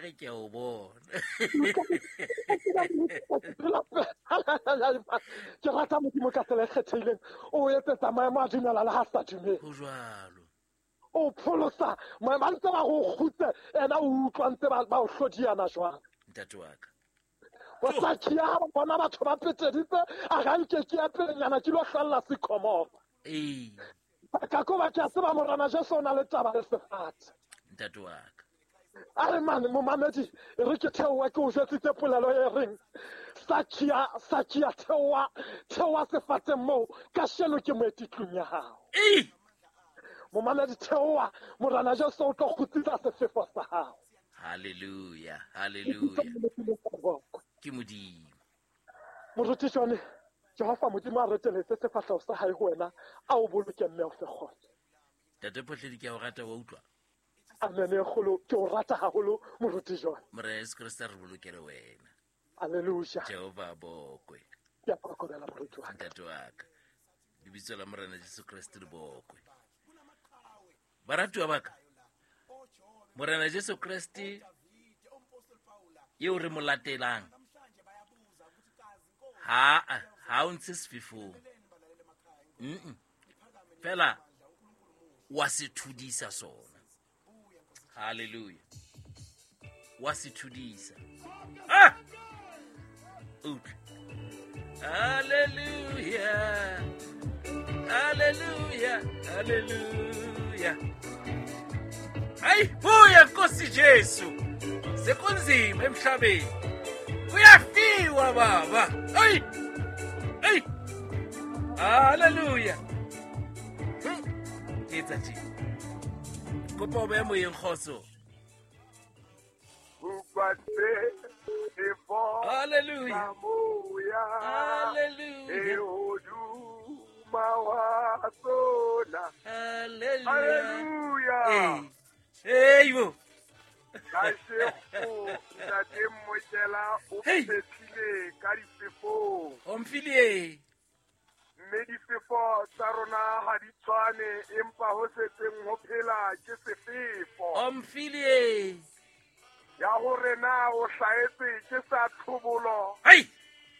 re ke o bona. Ke rata Modimo ka tsela e kgethehileng, o etsetsa maemo a dumela le ha sa dumele. Ho jwalo. O pholosa maemo a ntse ba go kgutse, ena o utlwa ntse ba o hlodiana jwang. Ntate wa ka. O sa kia ha ba bona batho ba peteditse, a ga nke ke ya pelenyana ke lo hlalla sekhomoro. Ee. Ka ko ba ke a tseba Morena Jesu o na le taba le sefate. Ntate wa ka. A re mane momamedi, e re ke theoha ke o jwetsitse polelo e reng Sakia, Sakia, theoha, theoha sefateng moo, kasheno ke moeti tlung ya hao. Ee. Momamedi, theoha, Morena Jesu o tlo kgutsisa sefefo sa hao. Hallelujah, hallelujah. Ke Modimo. Moruti Johnny, Jehova Modimo a reteletse sefahleho sa hae ho wena, a o boloke mme o fe kgotso. Ntate Phohledi, ke a o rata, wa utlwa? Amen, e kgolo, ke o rata haholo, Moruti Johnny. Morena Jesu Kriste a re bolokele wena. Hallelujah. Jehova a bokwe. Ke a kokobela, moruti wa ka. Ntate wa ka. Lebitso la Morena Jesu Kriste le bokwe. Baratuwa ba ka, Morena Jesu Kriste eo re mo latelang, ha o ntshe sefefong. Fela wa se thudisa sona. Hallelujah. Wa se thudisa. Ah! Utlwa. Hallelujah. Hallelujah. Hallelujah. Hayi, buya Nkosi Jesu. Sekunzima emhlabeni. Kuyafiwa baba. Hayi. Hayi. Hallelujah. Ke etsa tje. Kopa o behe moyeng kgotso. Hallelujah. Hallelujah. Hallelujah. Hey, bo. Kashego, ntate Mmokela o phethile ka difefong. O mfile. Mme difefo tsa rona ha di tshwane, empa ho setseng ho phela ke sefefo. O mfile. Ya hore na o hlahetse ke sa tlhobolo. Hai!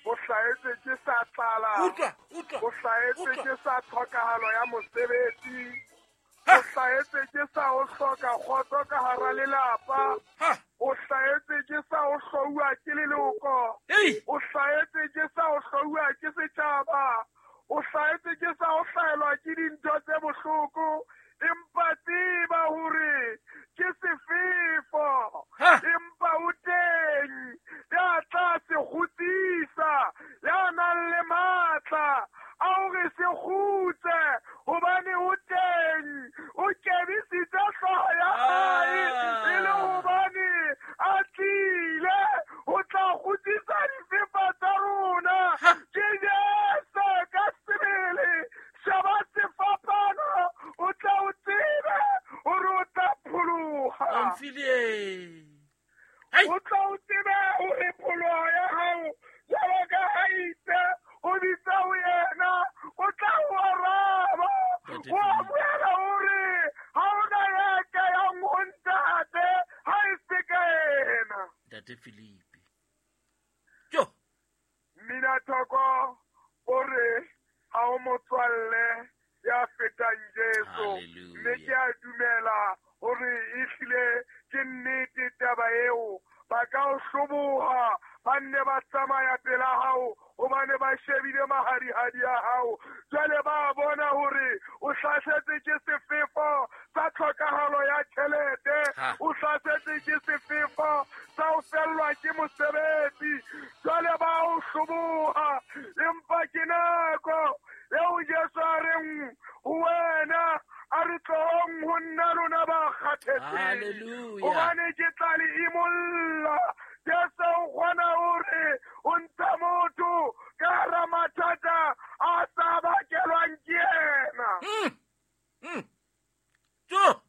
O hlahetse ke sa tlala. Utlwa, utlwa. O hlahetse ke sa tlhokahalo ya mosebetsi. Ha! O hlahetse ke sa ho hloka kgotso ka hara lelapa. Ha! O hlahetse ke sa ho hlouwa ke leloko. Ei! O hlahetse ke sa ho hlouwa ke setjhaba. O hlahetse ke sa ho hlahelwa ke dintho tse bohloko. Empa tseba hore ke sefefo. Ha! Empa o teng ya tla se kgutsisa, ya nang le matla a hore se kgutse, hobane o teng. O kebisitse hlooho ya hae e le hobane a tlile ho tla kgutsisa difefo tsa rona. Ha! Ke Jesu ka sebele. Sheba sefapano, o tla o tsebe hore o tla pholoha. O mfile. Hai! O tla o tsebe hore pholoho ya hao jwalo ka ha itse o bitsa ho yena, o tla o araba. Ntate O Philip. boela hore ha hona ya ka yang ho ntate ha e se ka yena. Ntate Philip. Jo. Mmina Thoko o re ha o motswalle ya fetang Jesu. Hallelujah. Mme ke a dumela hore ehlile ke nnete taba eo. Ba ka o hloboha, ba nne ba tsamaya pela hao hobane ba shebile mahadihadi a hao. Jwale ba bona hore o hlasetse ke sefefo sa tlhokahalo ya tjhelete, Ha. o hlasetse ke sefefo sa ho fellwa ke mosebetsi. Jwale ba o hloboha, empa ke nako eo Jesu a reng ho wena, a re tlohong ho nna lona ba kgathetseng. Hallelujah. Hobane ke tla le imolla. Jesu o kgona hore o ntsha motho ka hara mathata a sa bakelwang ke yena. Jo.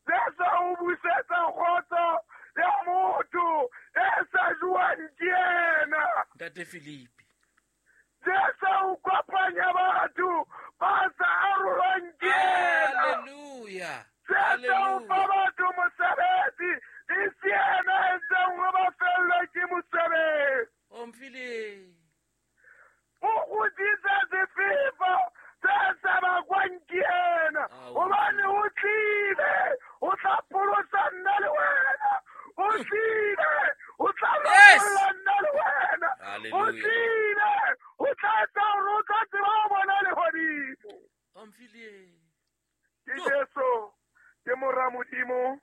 Jesu o busetsa kgotso ya motho e sa jewang ke yena. Ntate Philip. Jesu o kopanya batho ba sa arolwang ke yena. Hallelujah. Jesu o fa Hallelujah. batho mosebetsi E se yena a entseng hore ba fellwe ke mosebetsi. Omphile. O kgutsitse sefefo se sa bakwang ke yena, hobane o tlile o tla pholosa nna le wena. O tlile o tla lopolla nna le wena. O tlile o tla etsa hore o tla tseba ho bona lehodimo. Omphile. Ke Jesu, ke mora Modimo,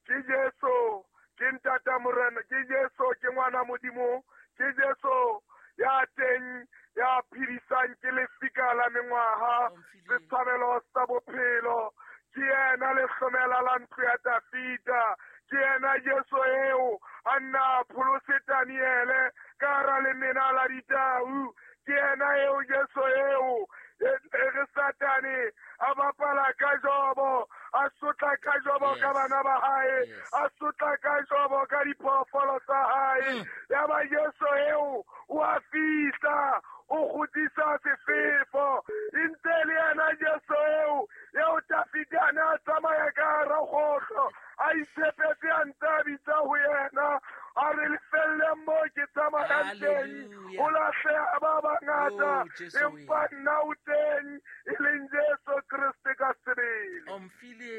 ke Jesu, ke ntata morena, ke Jesu, ke ngwana Modimo, ke Jesu ya teng ya phedisang, ke lefika la mengwaha, setshabelo sa bophelo, ke yena lehlomela la ntlo ya Dafida, ke yena Jesu eo a nna pholose Daniele ka hara lemena la ditau, ke yena eo Jesu eo e re Satane a bapala ka Jobo, a sotla ka Jobo ka bana ba hae, a sotla ka Jobo ka diphoofolo tsa hae. Ya ba Jesu eo o a fihla, o kgutlisa sefefo. E ntse le yena Jesu eo eo Dafida a ne a tsamaya ka hara kgohlo, a itshepetse, a ntse a bitsa ho yena, a re lefelleng moo ke tsamayang teng, ho lahleha ba bangata, empa nna o teng, e leng Jesu Kreste ka sebele. Omphile.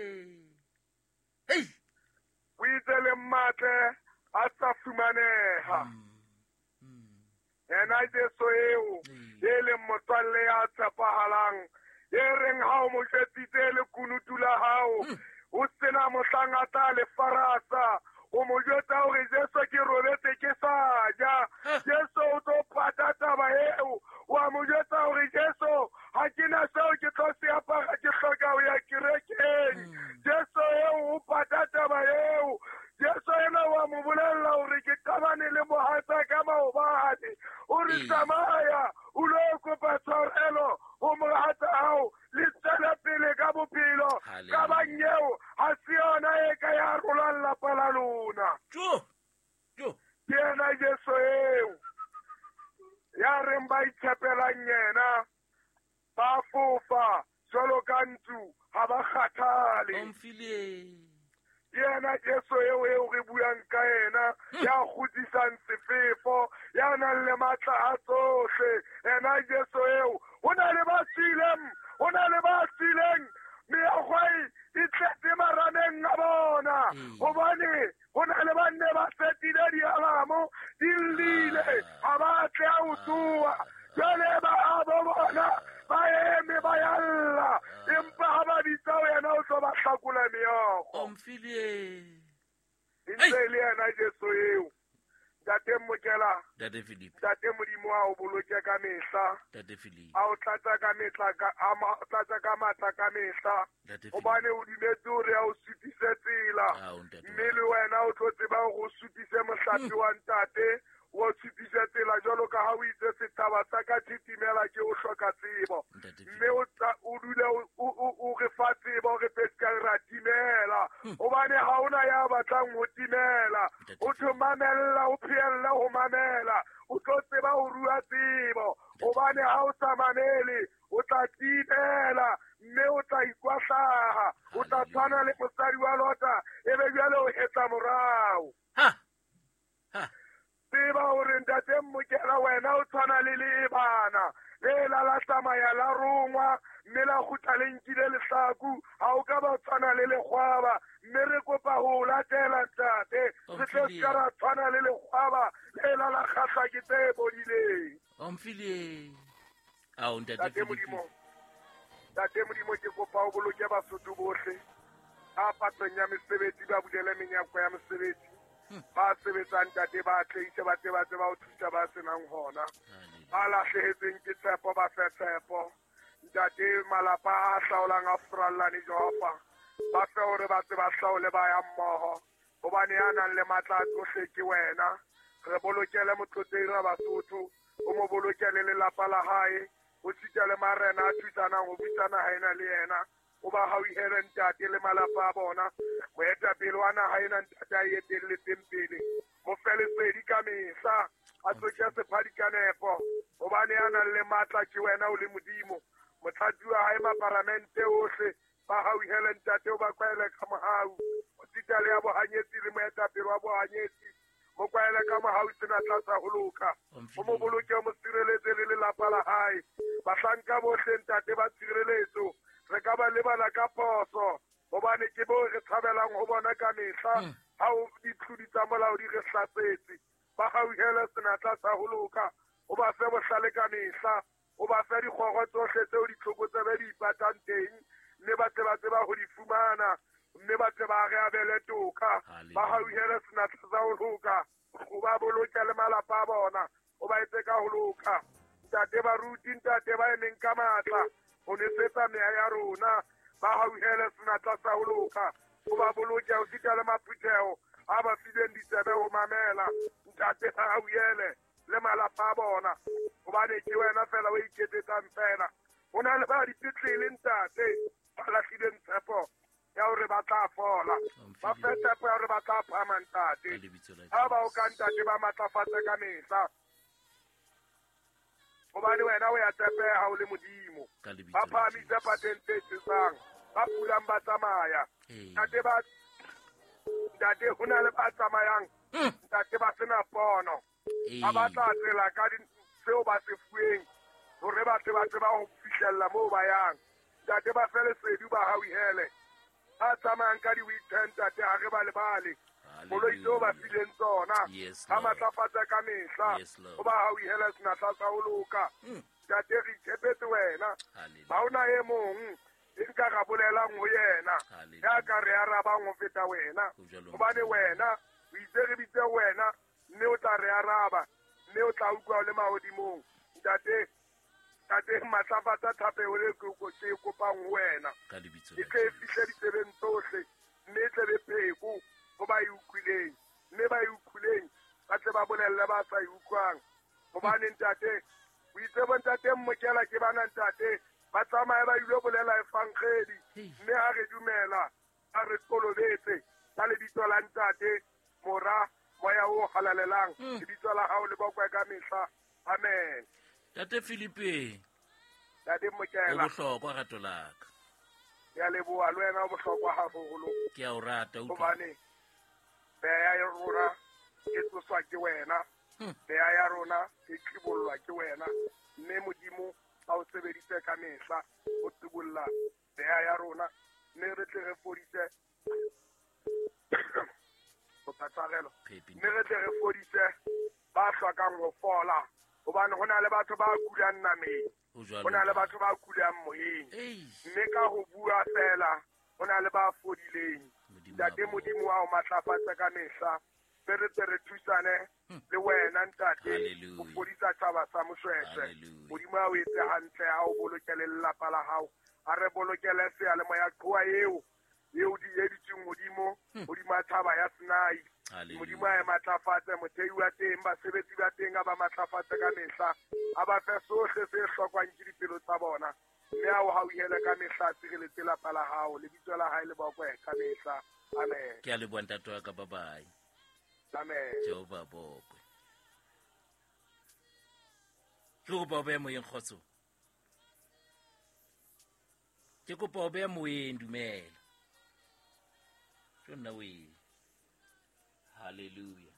Hey! O itse le mmatle a sa fumaneha. Yena Jesu eo e leng motswalle ya tshepahalang, e reng ha o mo jwetsitse lekunutu la hao, o sena mohlang a tla le farasa. O mo jwetsa hore Jesu ke robetse ke sa ja, Jesu o tlo pata taba eo. Wa mo jwetsa hore Jesu ha ke na seo ke tlo se apara, ke hloka ho ya kerekeng. Jesu eo o pata taba eo. Jesu ena wa mo bolella hore ke qabane le mohatsa ka maobane. O re tsamaya o lo kopa tshwarelo ho mohatsa hao, le tswele pele ka bophelo. Ka bang eo ha se yona e ka ya rolang lapa la lona. Ke yena Jesu eo ya reng ba itshepelang yena ba fofa jwalo ka ntsu, ha ba kgathale. Omphile. Ke yena Jesu eo eo re buang ka yena, ya kgutlisang sefefo, ya nang le matla a tsohle. Yena Jesu eo, ho na le ba tswileng, ho na le ba tswileng meokgwai e tletse marameng a bona, hobane ho na le ba nne ba setile dialamo, di llile, ha ba tle a ho tsoha. Jwale ba a bo bona ba eme ba yalla, empa ha ba bitsa ho yena o tlo ba hlakola meokgo. Omphile. E ntse e le yena Jesu eo. Ntate Mokela, Ntate Philip, Ntate Modimo a o boloke ka mehla, Ntate Philip, a o tlatsa ka metla ka a tlatsa ka matla ka mehla, hobane o dumetse hore a o supise tsela, mme le wena o tlo tseba hore o supise mohlape wa ntate, o supise tsela jwalo ka ha o itse setjhaba sa ka thitimela ke o hloka tsebo, mme o dule o re fa tsebo re tse ska ra timela, hobane ha ona ya batlang ho timela. O tlo mamella, o phehella ho mamela, o tlo tseba ho rua tsebo, hobane ha o sa mamele o tla timela, mme o tla ikwahlaha, o tla tshwana le mosadi wa Lota, ebe jwale o hetla morao. Tseba hore Ntate Mokela wena o tshwana le leebana le la la tsamaya la rongwa, mme la kgutla le nkile lehlaku, ha o ka ba tshwana le lekgwaba, mme re kopa ho latela ntate, re tle ska ra tshwana le lekgwaba le la la kgahla ke tse bodileng. Omphile. Ao Ntate Modimo, Ntate Modimo, ke kopa o boloke Basotho bohle ba patlong ya mesebetsi, ba bulele menyako ya mesebetsi, ba sebetsang ntate ba atleise, ba tle ba tseba ho thusa ba senang hona, ba lahlehetsweng ke tshepo ba fe tshepo. Ntate, malapa a hlaolang a furallane Jehova, ba fe hore ba tse ba hlaole ba ya mmoho, hobane ya nang le matla a tsohle ke wena. Re bolokele motlotlehi ra Basotho, o mo bolokele lelapa la hae, o sita le marena a thusanang ho busa naha ena le yena. O ba hauhele ntate le malapa a bona. Moetapele wa naha ena ntate a etelletseng pele, mo fe lesedi ka mehla, a tsoke sephadi ka nepo, hobane ya nang le matla ke wena o le Modimo. Motlatsi wa hae maparamente ohle ba hauhele ntate, o ba kwaele ka mohau. O sita le ya bohanyetsi le moetapele wa bohanyetsi. Mo kwaele ka mohau senatla sa ho loka. O mo boloke, o mo sireletse le lelapa la hae. Bahlanka bohle ntate ba tshireletso. Re ka ba lebala ka phoso, hobane ke bo re tshabelang ho bona ka mehla. Ha o ditlodi tsa molao di re hlasetse. Ba hauhele senatla sa ho loka. O ba fe bohlale ka mehla. O ba fe dikgoro tsohle tseo ditlhokotsebe di ipatang teng, mme ba tle ba tseba ho di fumana, mme ba tle ba re abele toka. Ba hauhele senatla sa ho loka. O ba boloke le malapa a bona. O ba etse ka ho loka. Ntate baruti, ntate ba emeng ka matla ho nesetsa meya ya rona. Ba hauhele senatla sa ho loka. O ba boloke ho sita le maphutheho a ba fileng ditsebe ho mamela. Ntate ba hauhele le malapa a bona, hobane ke wena fela o iketsetsang fela. Ho na le ba dipetlele ntate ba lahlileng tshepo ya hore ba tla fola. Ba fe tshepo ya hore ba tla phahama ntate. Ha ba o ka ntate ba matlafatse ka mehla, hobane wena o ya tshepeha o le Modimo. Ba phahamise pateng tse tshesang, ba pulang ba tsamaya. Ntate ho na le ba tsamayang, ntate ba sena pono. Ba batla tsela ka seo ba se fuweng hore ba tle ba tseba ho fihlella moo ba yang. Ntate ba fe lesedi, ba hauhele. Ba tsamayang ka di-weekend ntate ha re ba lebale. Koloi tseo ba fileng tsona, ba matlafatsa ka mehla. O ba hauhele senatla sa ho loka. Ntate re itshepetse wena. Ha hona e mong e nka ra bolelang ho yena ya ka re arabang ho feta wena. Hobane wena o itse re bitse wena, mme o tla re araba, mme o tla utlwa o le mahodimong. Ntate, ntate matlafatsa thapelo e ke e kopang ho wena. E tle e fihle ditsebeng tsohle, mme e tle be pheko ho ba e utlwileng, mme ba e utlwileng ba tle ba bolelle ba sa e utlwang. Hobane ntate, o itse bo ntate Mmokela ke bana ntate, ba tsamaye ba ilo bolela evangeli, mme ha re dumela, ha re kolobetse ka lebitso la ntate, Mora, Moya o halalelang, lebitso la hao le bokwe ka mehla. Amen. Ntate Filipe, Ntate Mmokela, o bohlokwa rato la ka. Ke a leboha, le wena o bohlokwa haholo. Ke a o rata, utlwa. Hobane meya ya rona e tsoswa ke wena, meya ya rona e qibollwa ke wena, mme Modimo a o sebedise ka mehla ho qibolla meya ya rona, mme re tle re fodise mme re tle re fodise ba hlokang ho fola. Hobane ho na le batho ba kulang nameng, ho na le batho ba kulang moyeng, mme ka ho bua fela ho na le ba fodileng. Ntate Modimo wa o matlafatse ka mehla, mme re tle re thusane le wena ntate ho fodisa tjhaba sa Moshweshwe. Modimo a o etse hantle, a o bolokele lelapa la hao, a re bolokele seyalemoya qhowa eo eo di editsweng hodimo hodima thaba ya Sinai. Modimo a e matlafatse, mothei wa teng, basebetsi ba teng a ba matlafatse ka mehla, a ba fe sohle se hlokwang ke dipelo tsa bona, mme a o hauhele ka mehla, a sireletse lapa la hao, lebitso la hae le bokwe ka mehla. Amen. Ke a leboha ntate wa ka, bye bye. Amen. Jehova bokwe. Ke kopa o behe moyeng, kgotso. Ke kopa o behe moyeng, dumela. Ke nna we. Hallelujah.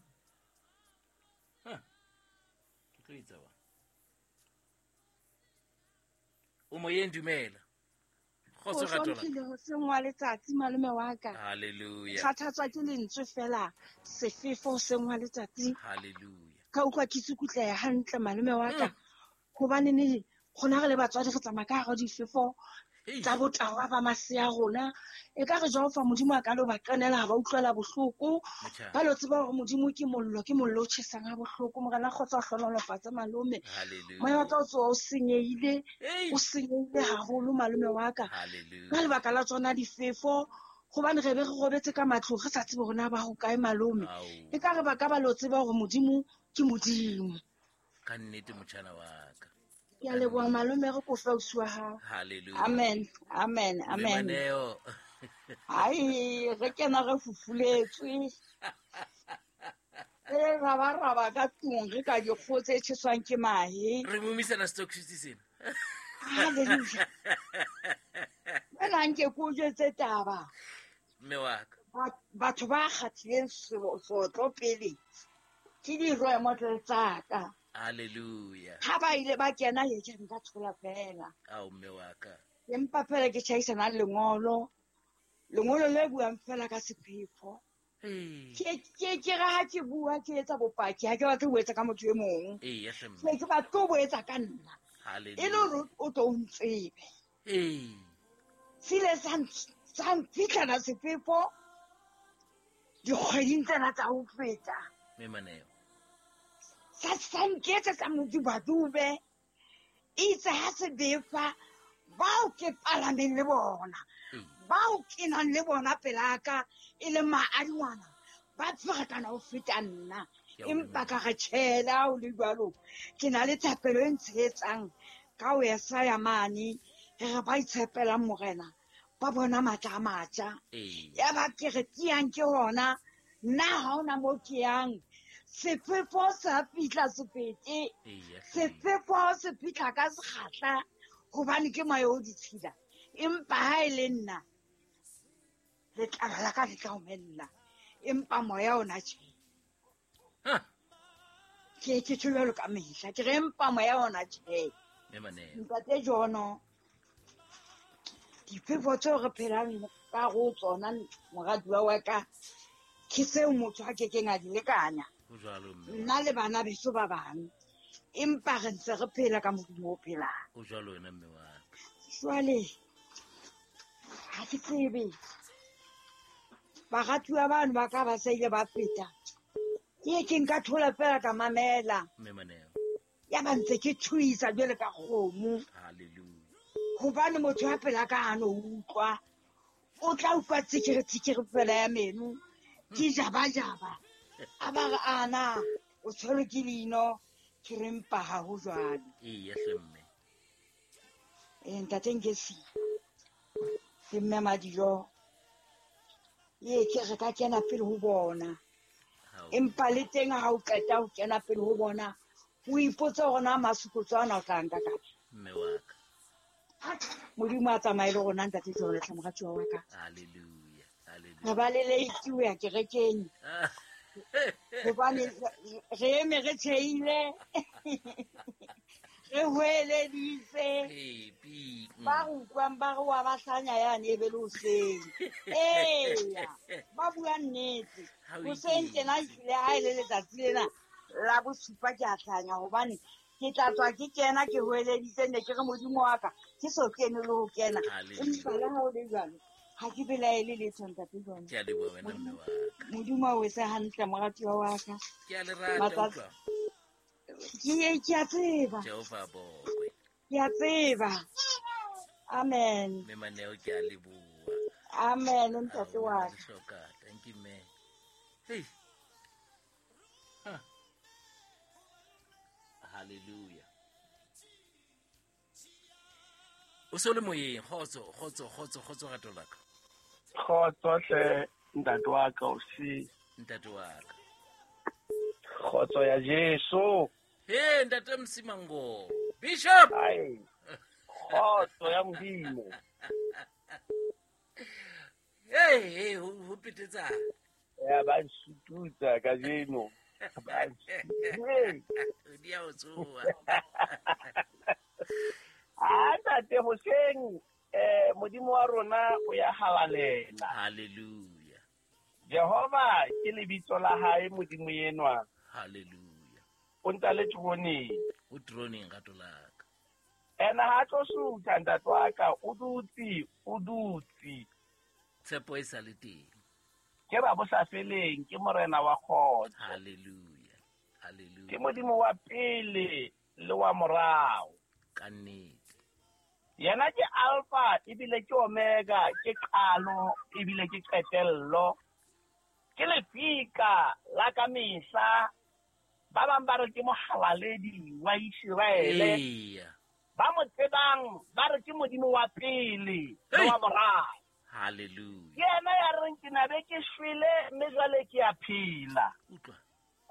Ke tlo etsa wa. O moyeng, dumela. Kgotso O rato la. hlomphile hoseng wa letsatsi malome wa ka. Hallelujah. Kgathatswa ke lentswe fela sefefo hoseng wa letsatsi. Hallelujah. Ka utlwa ke tsukutleha hantle malome wa ka. Hobane ne rona re le batswadi re tsamaya ka hara difefo tsa botawa ba masea rona. E ka re Jehova Modimo a ka lo ba qenela ha ba utlwela bohloko. Ba lo tseba hore Modimo ke mollo, ke mollo o tjhesang ha bohloko. Morena kgotsa o hlohonolofatse malome. Hallelujah. Moya wa ka o tsoha o senyehile, o senyehile haholo malome wa ka. Hallelujah. Ka lebaka la tsona difefo, hobane re be re robetse ka matlong re sa tsebe hore na ba hokae malome. E ka re ba ka ba lo tseba hore Modimo ke Modimo. Ka nnete motjhana wa ka. Ke a leboha malome, re kofe ausi wa hao. Hallelujah. Amen, amen, amen. Maneo. Hai, re kena re fufuletswe. Re rabaraba ka tlung, re ka dikgoho tse tjheswang ke mahe. Re momisana stock sena. Hallelujah. Wena nke ke o jwetse taba. Mme wa ka. Batho ba kgathileng sotlo pele ke di-role model tsa ka. Hallelujah. Ha ba ile ba kena ye ke nka thola fela. Ao mme wa ka. Empa fela ke tjhaisana le lengolo. Lengolo le buang fela ka sephefo. Ke re ha ke bua ke etsa bopaki, ha ke batle ho etsa ka motho e mong. Eya hle mme. Ke batle ho etsa ka nna. Hallelujah. E le hore o tlo ntsebe. Se ile sa nfitlhela sefefo dikgweding tsena tsa ho feta. Mme Maneo. Sa nketsetsa modubadube. Itse ha se befa bao ke palameng le bona, bao ke nang le bona pelaka e le maadingwana, ba ferekana ho feta nna. Empa ka re tjhela ho le jwalo, ke na le thapelo e ntshehetsang ka ho Esaya mane, re re ba itshepelang Morena, ba bona matla a matjha. Yaba ke re tiyang ke hona, nna ha hona moo ke yang. Sefefo sa fihla sepete, sefefo se fihla ka sekgahla, hobane ke moya o ditshila. Empa ha e le nna, letlalo la ka le tla omella, empa moya ona tjhe. Ke tjho jwalo ka mehla, ke re empa moya ona tjhe. Ntate Jono, difefo tseo re phelang ka ho tsona moratuwa wa ka, ke seo motho a kekeng a di lekanya. Nna le bana beso ba bang, empa re ntse re phela ka Modimo o phelang. O jwalo wena mme wa ka. Jwale ha ke tsebe baratuwa bano ba ka ba sa ile ba feta, ke ke nka thola fela ka mamela. Mme Maneo. Ya ba ntse ke thuisa jwale ka kgomo. Hallelujah. Hobane motho a phela ka hano utlwa, o tla utlwa tsikiri tsikiri fela ya meno, ke jaba jaba. A ba re ana o tshwerwe ke leino, ke re mpa ha ho jwalo. Eya hle mme. Ntate Nkesi, le mme Madijo, ee ke re ka kena pele ho bona. Empa le teng ha o qeta ho kena pele ho bona, o ipotse hore na masukutso ana o tla nka kae. Mme wa ka. Modimo a tsamaye le rona ntate Jono hle moratuwa wa ka. Hallelujah. Hallelujah. Re ba le late ho ya kerekeng. Hobane re eme re tjheile, re hweleditse. Ba re utlwang ba re wa ba hlanya yane e be le hoseng. Eya, ba bua nnete. Hoseng tjena ehlile ha e le letsatsi lena la bosupa ke a hlanya, hobane ke tla tswa ke kena ke hweleditse, ne ke re Modimo wa ka ke so kene le ho kena. Empa le ha ho le jwalo, ha ke belaele letho ntate Jono. Ke a leboha wena mme wa ka. Modimo a o etse hantle moratuwa wa ka. Ke a le rata utlwa. Ke a tseba. Jehova bokwe. Ke a tseba. Amen. Mme Maneo ke a leboha. Amen ntate wa ka. Hloka. Thank you mme. Hey. Hallelujah. O so le moyeng, kgotso, kgotso, kgotso, kgotso rato la ka. Kgotso hle ntate wa ka o si. Ntate wa ka. Kgotso ya Jesu. He ntate Msimango. Bishop. Ai. Kgotso ya Modimo. Hey, hey, ho petetsa. Ya ba ntshututsa kajeno. Ba Di a o tsoha. Ah, ntate hoseng, Modimo wa rona o ya halalela. Hallelujah. Jehova ke lebitso la hae Modimo enwa. Hallelujah. O ntse le troneng. O troneng rato la ka. Ena ha tlo sutha ntate wa ka, o dutse, o dutse. Tshepo e sa le teng. Ke ba bo sa feleng, ke morena wa kgotso. Hallelujah. Hallelujah. Ke Modimo wa pele le wa morao. Ka nnete. Yena ke Alpha ebile ke Omega, ke qalo ebile ke qetello. Ke lefika la ka mehla. Ba bang ba re ke mohalaledi wa Iseraele. Ba mo tsebang ba re ke Modimo wa pele le wa morao. Hallelujah. Ke yena ya reng ke na be ke shwele mme jwale ke a phela. Utlwa.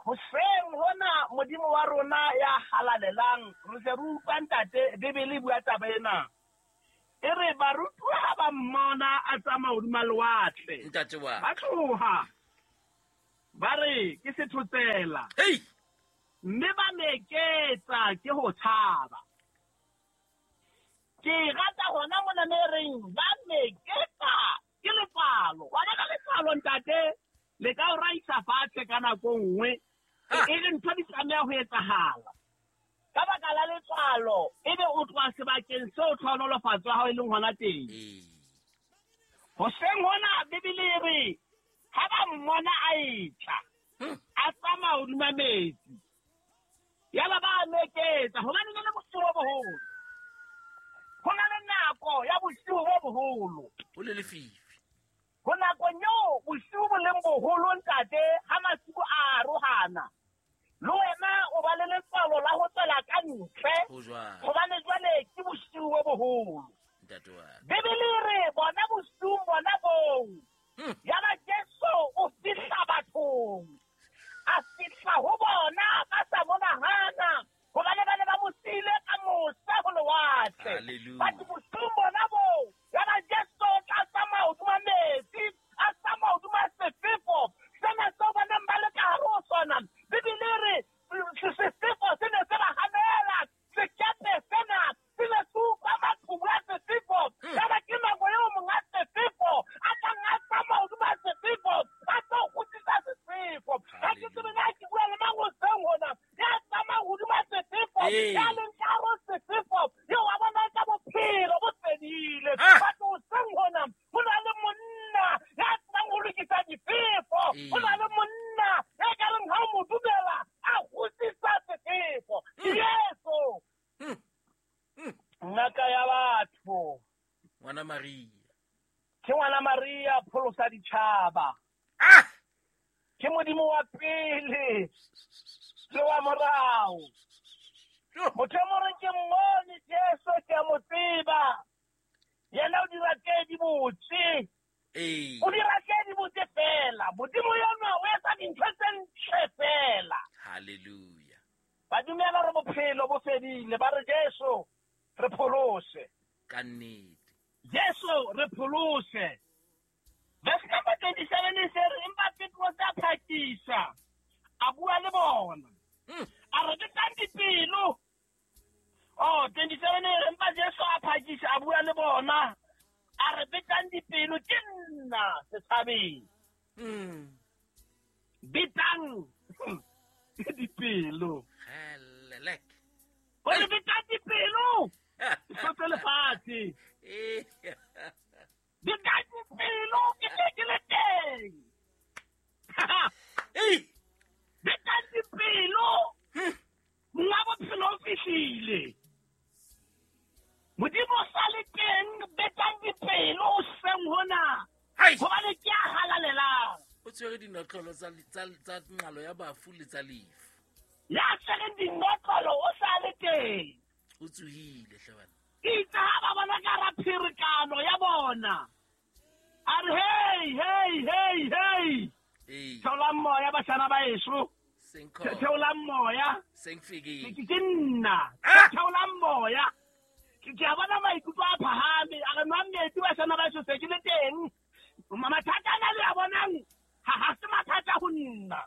Hoseng hona Modimo wa rona ya halalelang, re se re utlwa ntate Bibele e bua taba ena. E re barutuwa ha ba mmona a tsamaya hodima lewatle, Ntate wa ba tloha ba re ke sethotsela, hei, mme ba meketsa ke ho tshaba. Ke rata hona mona me reng ba meketsa ke letswalo. Wa bona letswalo ntate, le ka o raisa fatshe ka nako nngwe, e re ntho di tlameha ho etsahala. Ka baka la letswalo, ebe o tloha sebakeng seo tlhohonolofatso ya hao e leng hona teng. Hoseng hona Bibele e re ha ba mmona a etla, a tsamaya hodima metsi, yaba ba a meketsa, hobane ne le bosiu bo boholo. Ho na le nako ya bosiu bo boholo. Ho le lefifi. Ho nakong eo bosiu bo leng boholo ntate, ha masiu a arohana, le wena o ba le letswalo la ho tswela ka ntle, Ho jwang? hobane jwale ke bosiu bo boholo. Ntate wa Bibele e re bona bosiung bona boo, yaba Jesu o fihla bathong, a fihla ho bona ba sa mo nahana, hobane ba ne ba mo siile ka mosa ho lewatle. Hallelujah. Batho bosiung bona boo, yaba Jesu o tla tsamaya hodima metsi, a tsamaya hodima sefefo sena seo ba neng ba le ka hare ho sona. Bibele e re sefefo se ne se ba hanela, sekepe sena se ne se utlwa maqhubu a sefefo. Yaba ke nako eo monga sefefo a tlang a tsamaya hodima sefefo, a tlo kgutlisa sefefo. Ha ke tsebe na ke bua le mang hoseng hona, ya tsamayang hodima sefefo, ya leng ka hare ho sefefo, eo wa bona ka bophelo bo fedile. Batho hoseng hona, ho na le monna ya tsebang ho lokisa difefo, ho na le monna ya ka reng ha o mo dumela, a kgutlisa sefefo. Ke Jesu. Ngaka ya batho. Ngwana Maria. Ke ngwana Maria, pholosa ditjhaba. Ke Modimo wa pele le wa morao. Motho e mong ke mmone Jesu, ke a mo tseba. Yena o dira tse di botse. O dira tse di botse fela. Modimo yena o etsa dintho tse ntle fela. Hallelujah. Ba dumela hore bophelo bo fedile, ba re Jesu re pholose. Ka nnete. Jesu re pholose. Verse number 27 e se re empa Petrose a phakisa, a bua le bona. A re betang dipelo. Oh, 27 e re empa Jesu a phakisa, a bua le bona. A re betang dipelo, ke nna setshabeng. Betang dipelo. Helelek. O re betang dipelo. Hlotse lefatshe. Betang dipelo, ke tle ke le teng. Betang dipelo. Monga bophelo o fihlile. Modimo o sa le teng, betang dipelo hoseng hona. Hobane ke a halalelang. O tshwere dinotlolo tsa nqalo ya bafu le tsa lefu. Ya tshwereng dinotlolo o sa le teng. O tsohile hle bana. Itse ha ba bona ka hara pherekano ya bona, a re hey, hey, hey, hey. Theolang moya bashana ba heso. Theolang moya. Ke nna. Theolang moya. Ke a bona maikutlo a phahame, a re nwang metsi bashana ba heso, se ke le teng. Mathata ana le a bonang, ha se mathata ho nna.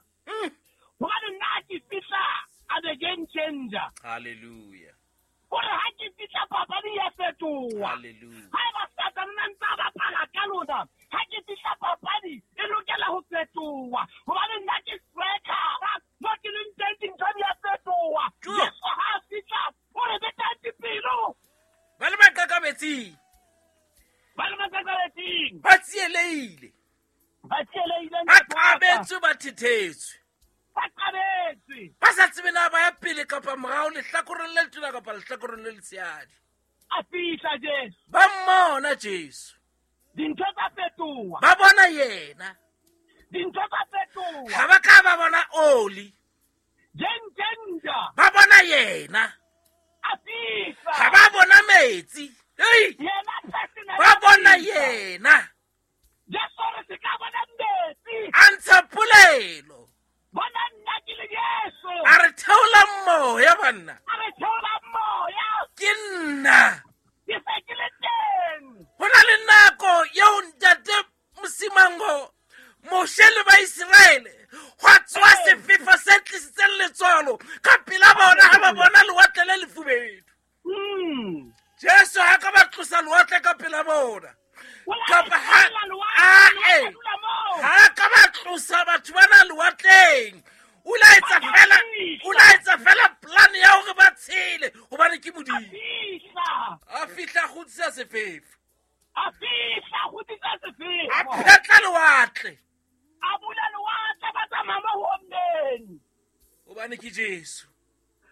Hobane nna ha ke fihla, I'm a game changer. Hallelujah. Hore ha ke fihla papadi ya fetoha. Hallelujah. Ha eba Satane a ntse a bapala ka lona, ha ke fihla papadi e lokela ho fetoha. Hobane nna ke striker, mo ke leng teng dintho di a fetoha. Jesu ha a fihla, o re betang dipelo. Ba le maqakabetsing. Ba le maqakabetsing. Ba tsielehile. Ba tsielehile. Ba qabetswe, ba thethetswe. Ba qabetswe. Ba sa tsebe na ba ya pele kapa morao, lehlakoreng le letona kapa lehlakoreng le letshehadi. A fihla Jesu. Ba mmona Jesu. Dintho tsa fetoha. Ba bona yena. Dintho tsa fetoha. Ha ba ka ba bona oli. Game changer. Ba bona yena. A fihla. Ha ba bona metsi. Hey! Yena personally. Ba bona yena. Jesu re se ka bona metsi. A ntsha polelo. Bona nna ke le Jesu. A re theola moya banna. A re theola moya. Ke nna. Ke se ke le teng. sefefo. A fihla a kgutsisa sefefo. A phetla lewatle. A bula lewatle ba tsamaya mo ho ommeng. Hobane ke Jesu.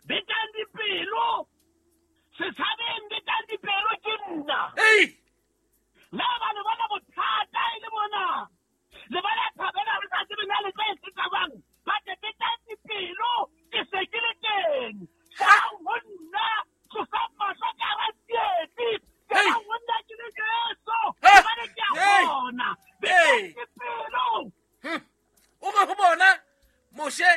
Betang dipelo. Setjhabeng betang dipelo ke nna. Ei! Le ba le bona bothata e le mona. Le bona thabela re sa tsebe na le tla e tsabang. Ba te betang dipelo ke se ke le teng. Sa ho nna tlosa mahlo ka hara tsietsi. Ke ho nna ke le Jesu. Hobane ke a bona. Betang dipelo. O re ho bona Moshe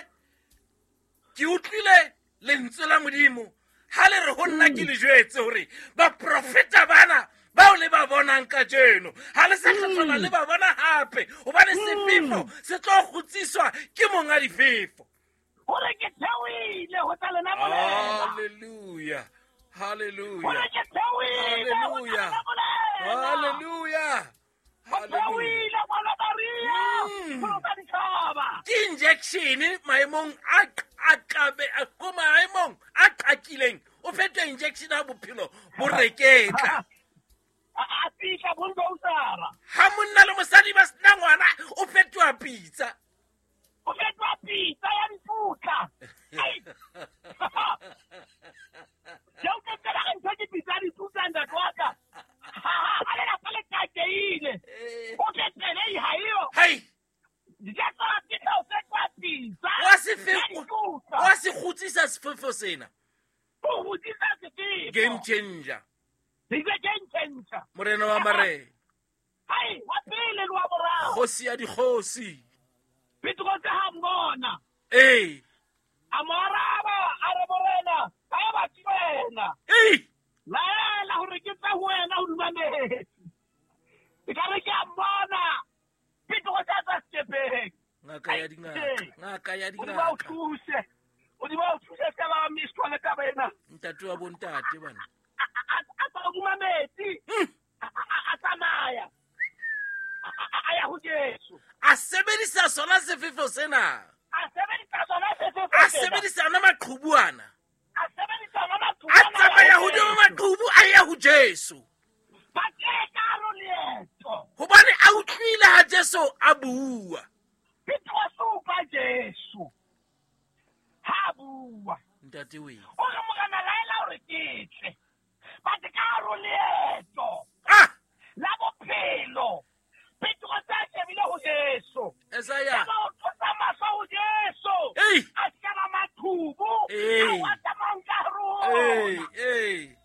ke utlwile lentswe la Modimo ha le re ho nna ke le jwetse hore baprofeta bana bao le ba bonang kajeno ha le sa hlola le ba bona hape hobane sefefo se tlo kgutsiswa ke monga difefo. Hore ke theohile ho tla lena molela. Hallelujah. Hallelujah. Hore ke theohile ho tla lena molela. Hallelujah. Hallelujah. Ngwana Maria. Pholosa ditjhaba. Ke injection maemong a qabe ko maemong a qakileng o fetwa injection ya bophelo bo reketla. A fihla bulldozer. Ha monna le mosadi ba sena ngwana o fetwa pitsa. O fetwa pitsa ya diputla. Jeo ke tsela re ntho ke pitsa ya diputla ntate wa ka. Ha le lapa le takeile. O ke tsele ha eo. Hai. Jesu a fihla o fetwa pitsa. Wa sefefo. Wa se kgutsisa sefefo sena. O kgutsisa sefefo. Game changer. He's a game changer. Morena wa marena. Hai, wa pele le wa boraro. Kgosi ya dikgosi. Petrose ha mmona. Ee. A mo araba, a re morena, ha e batle wena. Ee. Laela hore ke tla ho wena hodima metsi. E ka re ke a mmona. Petrose a tswa sekepeng. Ngaka ya dingaka. Ngaka ya dingaka. Modimo a o thuse. Modimo a o thuse se ka ba miss le taba ena. Ntate wa bontate bana. A tswa hodima metsi. A tsamaya. A ya ho Jesu. A sebedisa sona sefefo sena. A sebedisa sona sefefo. A sebedisa ona maqhubu ana. A sebedisa ona maqhubu. A tsamaya hodima maqhubu a ya ho Jesu. Ba keka leeto. Hobane a utlwile ha Jesu a bua. Petrose o utlwa Jesu. Ha bua. Ntate we. O re morena laela hore ke tle. Ba ka leeto. Ah! La bophelo. Petrose a shebile ho Jesu. Esaya. Ba o tlosa mahlo ho Jesu. Ei. A sheba maqhubu. Ei. A wa tsamayang ka hare ho Ei, ona. ei.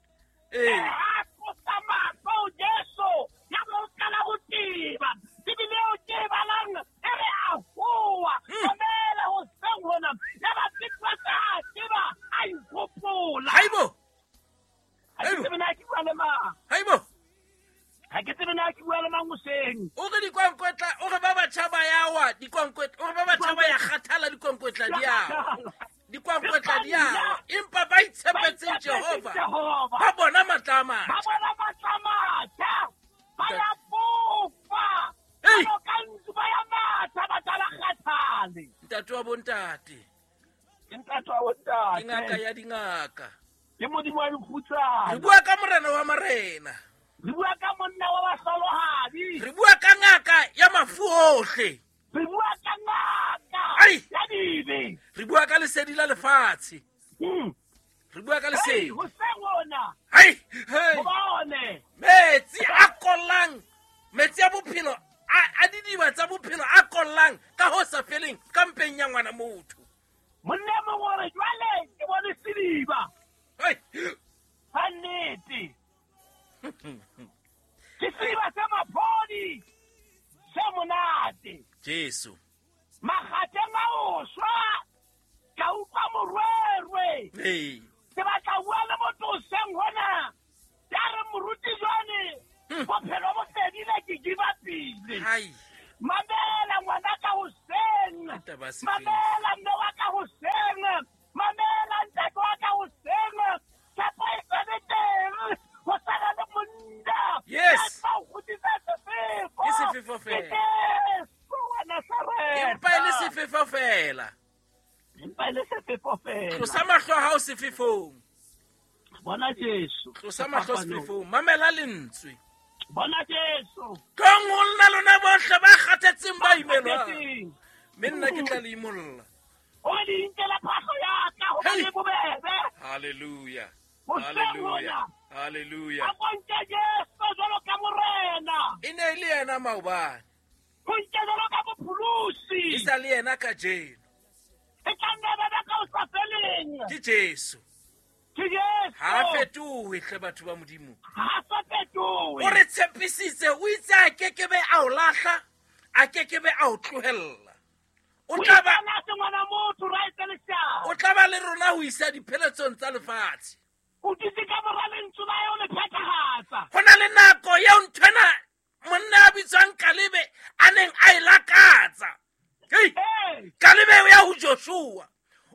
Ei. A tlosa mahlo ho Jesu. Ya ba o qala ho teba. Bibele eo ke e balang e re a hoa. Mamela hoseng hona. Ya ba Petrose a tseba a ihopola. Haibo. Ha ke tsebe na ke bua le mang. Haibo. Ha ke tsebe na ke bua le mang hoseng. O re dikwankwetla, o re ba batjha ba ya wa dikwankwetla, o re ba batjha ba ya kgathala dikwankwetla di ya. Dikwankwetla di ya. Empa ba itshepetseng Jehova. Ba bona matla a matjha. Ba bona matla a matjha. Ba ya fofa. Ei. Ba ka ntsu ba ya matha ba tla kgathale. Ntate wa bontate. Ke ntate wa bontate. Ke ngaka ya dingaka. Ke Modimo wa dikgutsana. Re bua ka morena wa marena. Re bua ka monna wa bahlolohadi. Re bua ka ngaka ya mafu ohle. Re bua ka ngaka ya dibe. Re bua ka lesedi la lefatshe. Re bua ka lesedi. Hoseng hona. Hai, hey. Bone. Metsi a kollang, metsi a bophelo, a didiba tsa bophelo a kollang ka ho sa feleng ka mpeng ya ngwana motho. Monna mongwe o re jwale ke bone sediba. Hai. Ha nnete. Ke sediba sa maphodi se monate. Jesu. Makgateng a o shwa ka utlwa morwerwe. Ee. Ke batla bua le motho hoseng hona. Ya re moruti jwane bophelo bo fedile ke give up-ile. Hai. Mamela ngwana ka hoseng. Taba se Mamela mme wa ka hoseng. Mamela ntate wa ka hoseng. Tshepo e sale teng. Ho sala le monna. Yes. Ya tla o kgutlisa sefefo. Ke sefefo fela. Ke Jesu wa Nazaretha. Empa e le sefefo fela. Empa e le sefefo fela. Tlosa mahlo a hao sefefong. Bona Jesu. Tlosa mahlo sefefong, mamela lentswe. Bona Jesu. Tlong ho nna lona bohle ba kgathetseng ba imelwang. Mme nna ke tla le imolla. O re le inkela phahlo ya ka hobane bobebe. Hallelujah. Hallelujah. Hallelujah. A bontshe Jesu jwalo ka morena. E ne e le yena maobane. Ho nke jwalo ka mopholosi. E sa le yena kajeno. E tla nna ba ka o sa feleng. Ke Jesu. Ke Jesu. Ha fetohe hle batho ba Modimo. Ha sa fetohe. O re tshepisitse, o itse a kekebe a o lahla, a kekebe a o tlohella. O tla ba ngwana motho ra etsa leshano. O tla ba le rona ho isa dipheletsong tsa lefatshe. O dutse ka mora lentswe la eo le phethahatsa. Ho na le nako eo nthwena monna a bitswang Kalebe a neng a e lakatsa. Hei! Kalebe o ya ho Joshua.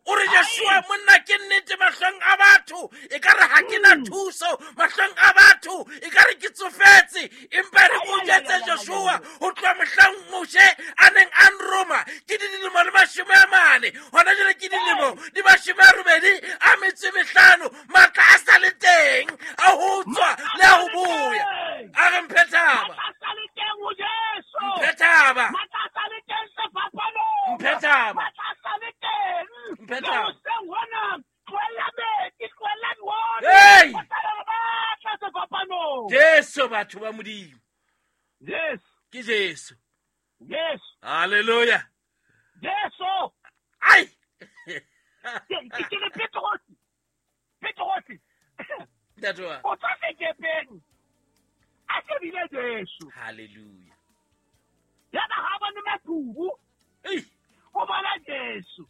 O re Joshua monna ke nnete mahlong a batho, e ka re ha ke na thuso mahlong a batho, e ka re ke tsofetse, empa re ko jwetse Joshua ho tloha mohlang Moshe a neng a nroma ke dilemo le 40, hona jwale ke dilemo di 85, matla a sa le teng a ho tswa le a ho boya. A re mphe thaba. Mphe thaba. Mphe thaba. Hey! Jesu batho ba Modimo. Yes. Ke Jesu. Yes. Hallelujah. Jesu. Ai. Ke le Petrosi. Petrosi. Ntate wa. O tswa sekepeng. A shebile Jesu. Hallelujah. Ya ba ha bone maqhubu. Ei. O bona Jesu.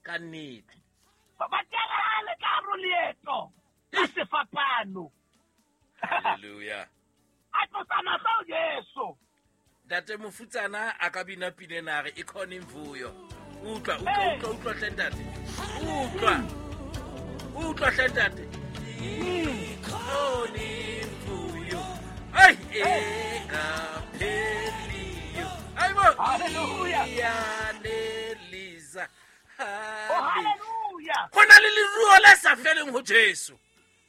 Ka nnete. Ba tjela le ka hare leeto. Ka sefapano. Hallelujah. A tlosa mahlo Jesu. Ntate mofutsana a ka bina pina re e khona imvuyo. Utlwa, utlwa, utlwa, utlwa hle ntate. Utlwa. Utlwa hle ntate. Ikhona imvuyo. Ai engapheliyo. Ai bo. Hallelujah. Iyanelisa. Oh, hallelujah. Ho na le leruo le sa feleng ho Jesu.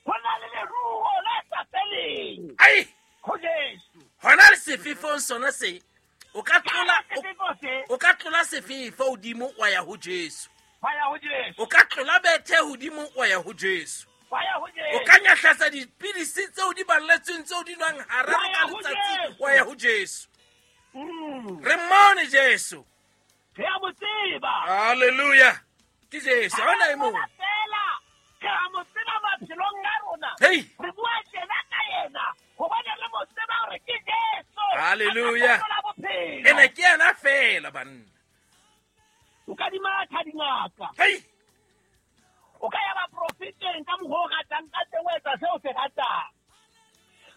Ho na le leruo le sa feleng. Ai. Ho Jesu. Hona le sefefong sona se o ka tlola o ka tlola sefefo hodimo wa ya ho Jesu. Wa ya ho Jesu. O ka tlola bethe hodimo wa ya ho Jesu. Wa ya ho Jesu. O ka nyahlatsa dipidisi tseo di balletsweng tseo di nwang hararo ka letsatsi wa ya ho Jesu. Re mmone Jesu. Re a mo tseba. Hallelujah. Ke Jesu. Ha hona e mong. Re a mo tseba maphelong a rona. Hey. Re bua tjena ka yena. Hobane re mo tseba hore ke Jesu. Hallelujah. Ene ke yena fela banna. O ka di matha dingaka. Hey. O ka ya baprofeteng ka mokgwa o ratang ka teng, o etsa seo se ratang.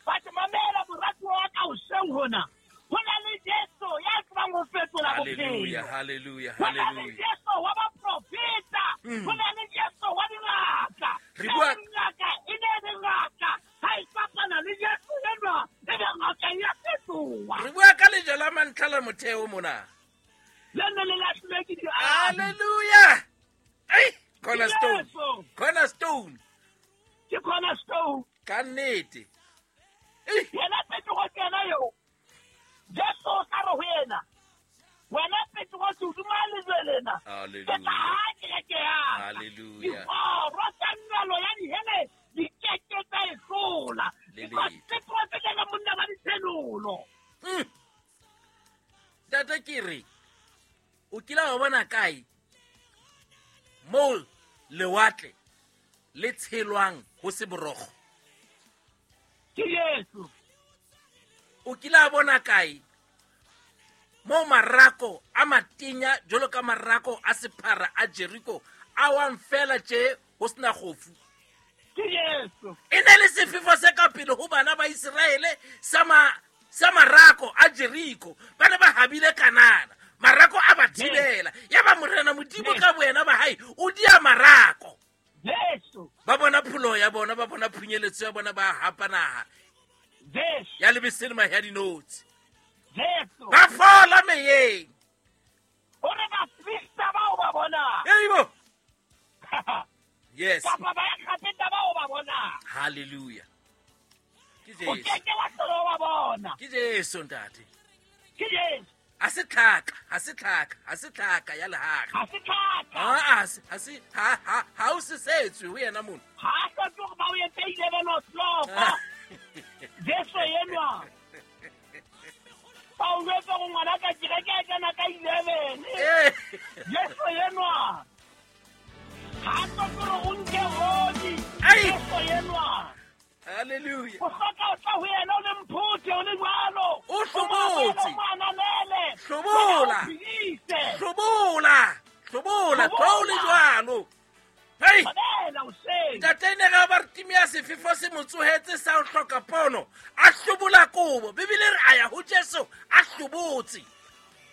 But mamela moratuwa wa ka hoseng hona. Ho na le Jesu ya tsebang ho fetola bophelo. Hallelujah, hallelujah, Ho na le hallelujah. Jesu wa baprofeta. Ho na le Jesu wa dingaka. Re bua Ngaka e ne le ngaka. Ha e fapana le Jesu enwa, e be ngaka ya fetoha. Re bua ka lejwe la mantlha la motheo mona. Le ne le lahlilwe ke diabi. Hallelujah. Ai, cornerstone. Jesu. Cornerstone. Ke cornerstone. Ka nnete. Ei. Yena Petrose yena eo. Jesu o tla re ho yena, wena Petrose hodima lejwe lena, ke tla Hallelujah. haha kereke ya ka. Hallelujah. Dikgoro tsa nywalo ya dihele di keke tsa e hlola. Le Because letho. Petrose ke yena monna wa ditshenolo. Ntate ke re, o kile wa bona kae moo lewatle le tshelwang ho se borokgo? Ke Jesu. O kile wa bona kae moo marako a matenya jwalo ka marako a sephara a Jericho a wang fela tje ho sena kgofu? Ke Jesu. E ne le sefefo se ka pele ho bana ba Iseraele sa marako a Jericho. Ba ne ba habile Kanana. Marako a ba thibela. Ya ba morena Modimo ka boyena ba hae o dia marako. Jesu. Ba bona pholo ya bona, ba bona phunyeletso ya bona, ba hapa naha. Jesu. Ya lebese le mahe a dinotshi. Jesu. Ba fola meyeng. Hore baprista bao ba bonang. Eibo. Yes. Kapa ba Egepeta bao ba bonang. bonang. Hallelujah. Ke O Jesu. keke wa hlola o ba bona. Ke Jesu ntate. Ke Jesu. Ha se tlhaka, ha se tlhaka, ha se tlhaka ya lehare. Ha se tlhaka. Ha ha se ha ha ha o se setswe ho yena mona. Ha a hloke hore ba o etse 11 o'clock. Jesu enwa. Ba o jwetsa hore ngwana ka kereke a kena ka 11. Eh. Jesu enwa. Ha a hloke hore o nke hodi. Ai. Jesu enwa. Hallelujah. O hloka o tla ho yena o le mphuthe o le jwalo. O hlobotse. O mo ananele. Hlobola. O phedise. Hlobola. Hlobola, tlo o le jwalo. Hei. Mamela hoseng. Ntate ne ga Bartimea sefefo se mo tsohetse sa ho hloka pono, a hlobola kobo. Bibele re a ya ho Jesu a hlobotse.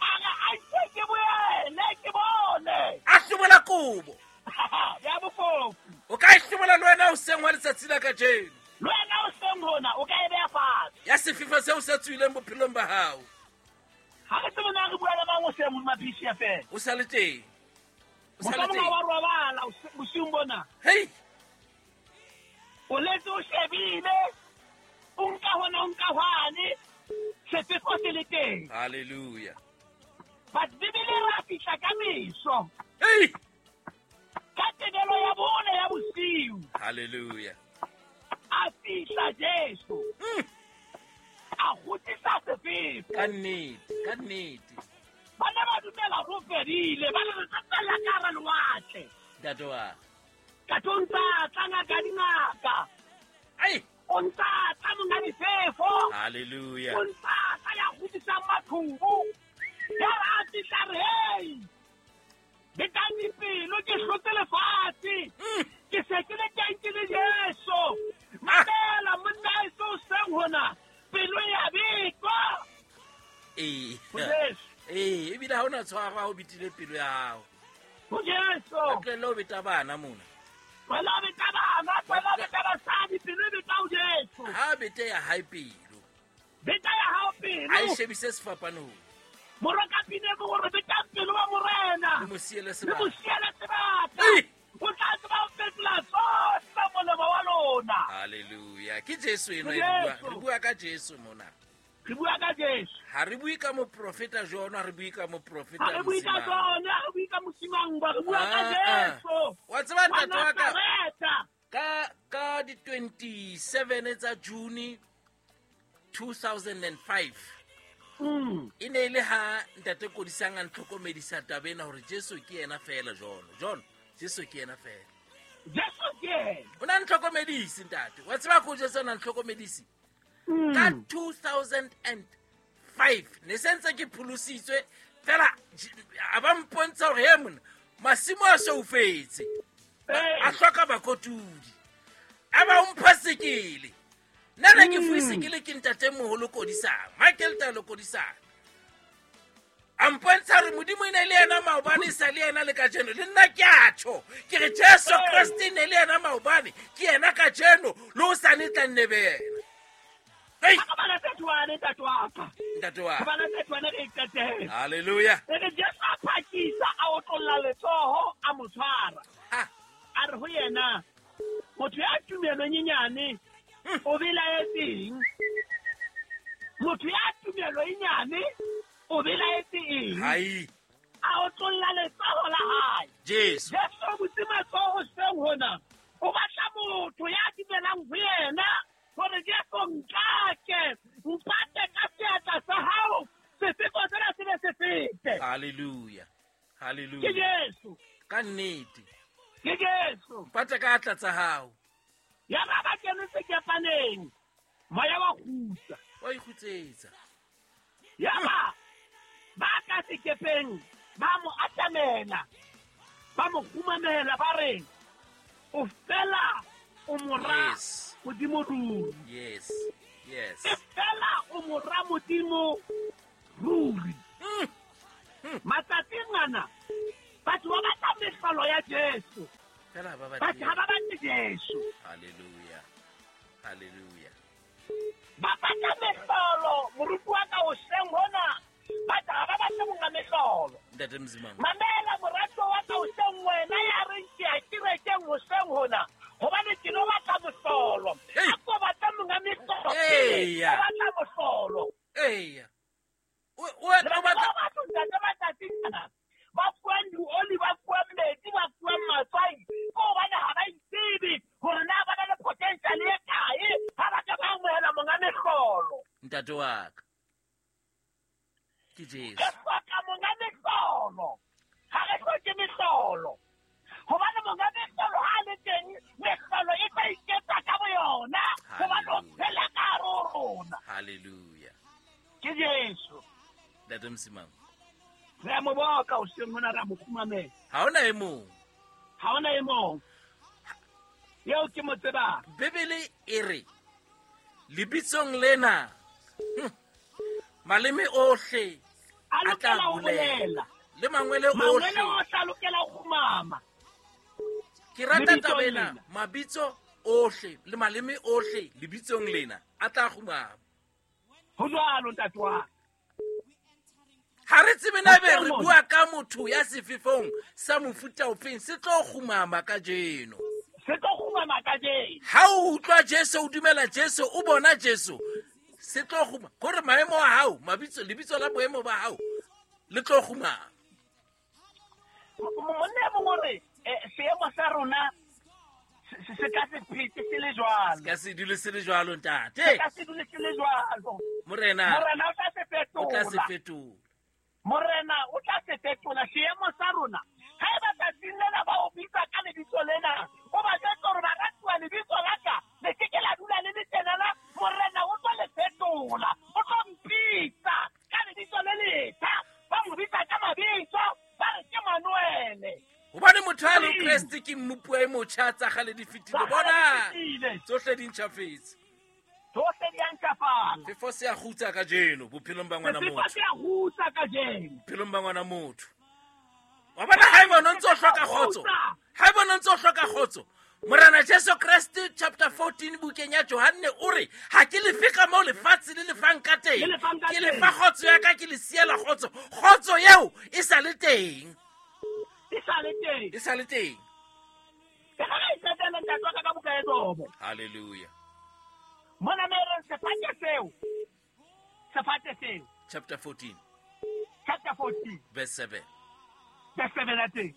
A re a ntse ke boele ke bone. A hlobola kobo. Ya bofofu. O ka e hlobola le wena hoseng wa letsatsi la kajeno. Le wena hoseng hona o ka e beha fatshe. Ya sefefo seo se tswileng bophelong ba hao. Ha re tsebe na re bua le mang hoseng hodima PCFM. O sa le teng. O sa le Mohlomong ha teng. wa robala bosiung bona. Hei. O letse o shebile. O nka hona, o nka hwane. Sefefo se le teng. Hallelujah. But Bibele e re a fihla ka meso. Hei. Ka tebelo ya bone ya bosiu. Hallelujah. A fihla Jesu. A kgutlisa sefefo. Ka nnete, ka nnete. Ba ne ba dumela ho fedile, ba re re tla tswella ka hara lewatle. Ntate wa. Ka tlo ntsa tla ngaka dingaka. Ai. O ntsa tla monga difefo. Hallelujah. O ntsa tla ya kgutlisang maqhubu. Ya re a fihla re, hei, betang dipelo, ke hlotse lefatshe. Ke se ke le teng ke le Jesu. Mamela monna heso hoseng hona, pelo ya betwa. Ee. Ho Jesu. Ee, ebile ha hona tshwaro ha o betile pelo ya hao. Ho Jesu. Ba tlohelle ho beta bana mona. Tlohella ho beta bana, tlohella ho beta basadi, pelo e beta ho Jesu. Ha bete ya hae pelo. Beta ya hao pelo. A e shebise sefapanong. Moroka pine mo hore beta pelo wa morena. Le mo siele Le sebaka. mo siele sebaka. Ei. O tla tseba ho fetola tsohle molemo wa lona. Hallelujah. Ke Jesu enwa Ke e re bua. Jesu. Re bua ka Jesu mona. Re bua ka Jesu. Ha re bue ka moprofeta John, ha re bue ka moprofeta Ha re bue ka Mosimang. John, ha re bue ka Mosimang, re bua ka Ah, ah. Jesu. Wa tseba ntate wa ka? Nazaretha. Ka di 27 tsa June 2005. E ne e le ha ntate Kodisang a ntlhokomedisa taba ena hore Jesu ke yena feela John. John, Jesu ke yena feela. Jesu ke yena. O na ntlhokomedise ntate. Wa tseba ko Jesu na ntlhokomedise? Ka 2005 ne se ntse ke pholositswe fela a ba mpontsha hore he monna masimo a soufetse. A hloka bakotudi. A ba o mpha sekele. Nna ne ke fuwe sekele ke ntatemoholo Kodisang, Michael Talo Kodisang. A mpontsha hore Modimo e ne le yena maobane, e sa le yena le kajeno. Le nna ke a tjho. Ke re Jesu Kreste e ne le yena maobane, ke yena kajeno, le hosane e tla nne be yena. Hei! Ha re bala thatoane, ntate wa ka. Ntate wa ka. Re bala thatoane re e qetele. Hallelujah. E re Jesu a phakisa, a otlolla letsoho, a mo tshwara. A re ho yena, motho ya tumelo e nyenyane, o belaetseng? Motho ya tumelo e nyane, o belaetse eng? Hai. A otlolla letsoho la hae. Jesu. Jesu o butse matsoho hoseng hona. O batla motho ya dumelang ho yena hore Jesu nkake, mpate ka seatla sa hao, sefefo sena se be se fete. Hallelujah. Hallelujah. Ke Jesu. Ka nnete. Ke Jesu. Mpate ka atla tsa hao. Ya ba ba kene sekepaneng, moya wa kgutsa. Wa ikgutsetsa. Ya ba ka sekepeng, ba mo atamela, ba mo kgumamela, ba re, o fela o mora Yes. Modimo ruri. Yes. Yes. E fela o mora Modimo ruri. Matsatsing ana, batho ba batla mehlolo ya Jesu. Fela ba batle. Batho ha ba batle Jesu. Hallelujah. Hallelujah. Ba batla mehlolo, moruti wa ka hoseng hona. Batho ha ba batle monga mehlolo. Ntate Mzimang. Mamela morato wa ka hoseng wena ya reng ke ya kerekeng hoseng hona. Hobane ke no batla mohlolo. Ntate wa ka. Ke Jesu. Re hloka monga mehlolo. Ha re hloke mehlolo. Hobane monga mehlolo ha le teng, mehlolo e tla iketsa ka boyona. Hobane o phela ka hare ho rona. Hallelujah. Ke Jesu. Ntate Msimang. Re a mo boka hoseng hona, re a mo kgumamela. Ha hona e mong. Ha hona e mong. Eo ke mo tsebang. Bibele e re lebitsong lena maleme ohle a a tla lokela ho bolela. bolela. Le mangwele Mangwele ohle. ohle a lokela ho kgumama. Ke rata Lebitsong taba ena, lena. mabitso ohle le maleme ohle lebitsong lena a tla kgumama. Ho jwalo ntate wa ka. Ha re tsebe na ebe re Mohlomong. bua ka motho ya sefefong sa mofuta ofeng se tlo kgumama kajeno. Se tlo kgumama kajeno. Ha o utlwa Jesu, o dumela Jesu, o bona Jesu, se tlo kguma. Kore maemo a hao, mabitso, lebitso la boemo ba hao le tlo kgumama. Monna e mong o re, seemo sa rona se ka se phete se le jwalo. Se ka se dule se le jwalo, ntate. Se ka se dule se le jwalo. Morena, Morena o tla se o tla se fetola. fetola. Morena o tla se fetola seemo sa rona. Ha eba tsatsing lena ba o bitsa ka lebitso lena, o ba jwetse hore baratuwa lebitso la ka le ke ke la dula le le tjenana, Morena o tlo le fetola. O tlo mpitsa ka lebitso le letjha. Ba mo bitsa ka mabitso, ba re ke Manuele. Hobane motho a le Kreste ke mmupuwa e motjha, tsa kgale di fetile. Tsa kgale Bona, di fetile. tsohle di ntjhafetse. Tsohle di a ntjhafala. Sefo se a kgutsa kajeno bophelong ba ngwana Sefo motho. se a kgutsa kajeno. Bophelong ba ngwana motho. Wa bona ha eba o ntso hloka kgotso. Ha eba o ntso hloka kgotso. Morena Jesu Kreste chapter 14 bukeng ya Johanne o re ha ke lefe ka moo lefatshe le lefang ka teng. Le lefang ka Ke teng. lefa kgotso ya ka, ke le siela kgotso. Kgotso eo e sa le teng. E sa le teng. E sa le teng. Ke ga re qetelle ntate wa ka ka buka ya Jobo. Hallelujah. Mona me reng sefate seo. Sefate seo. Chapter 14 Chapter 14. verse 7. Verse 7 ya teng.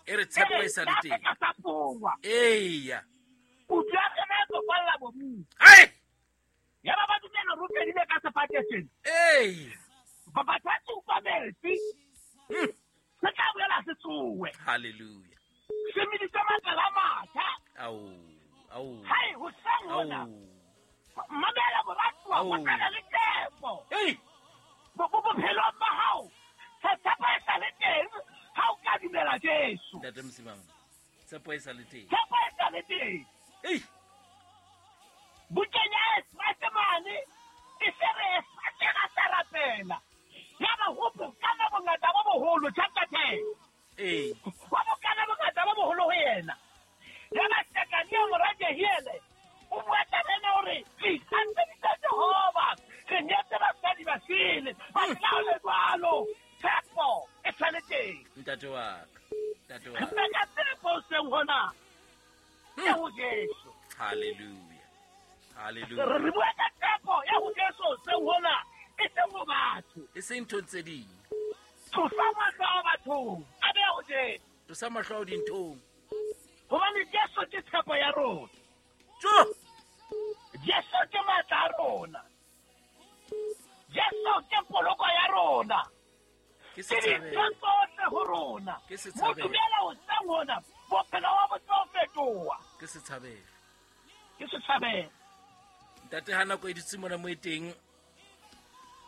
E re tshepo e sa le teng. E re, sa pongwa. Eya. Kutu ya rena e tlo falla mobung. Ai! Ya ba ba dumela hore o fedile ka sefate sena. Ei! Ba batho ba tsupa metsi. Se tla boela se tsowe. Hallelujah. Se meditse makala a matjha. Au. Au. Hai, hoseng hona. Au. Mamela moratuwa, Au. ho tla le tshepo. Ei! Bophelong ba hao, tshepo e sa le teng ha o ka dumela Jesu. Ntate Msimang, tshepo e sa le teng. Tshepo e sa le teng. Ei! Bukeng ya Esrase mane, e se re Esrase ga sa rapela. Ya ba ho bokana bongata bo boholo, chapter 10. Ei. Ho bokana bongata bo boholo ho yena. Ya ba Sekania mora Jehiele, o bua taba ena hore re ikantseditse Jehova, re nyetse basadi ba sele, ba tla ho le jwalo. Tshepo e sa le teng. Ntate wa ka. Ntate wa Re ka. beka tshepo hoseng hona. Ya ho Jesu. Hallelujah. Hallelujah. Re bua ka tshepo ya ho Jesu hoseng hona, e seng ho batho. E seng nthong tse ding. Tlosa mahlo a bathong, a behe ho Jesu. Tlosa mahlo ao dinthong. Hobane Jesu ke tshepo ya rona. Tjo! Jesu ke matla a rona. Jesu ke poloko ya rona. Ke Ke setshabelo. dintho tsohle ho rona. Ke setshabelo. Mo dumela hoseng hona, bophelo ba bo tlo fetoha. Ke setshabelo. Ke setshabelo. Ntate ha nako e dutse mona mo e teng,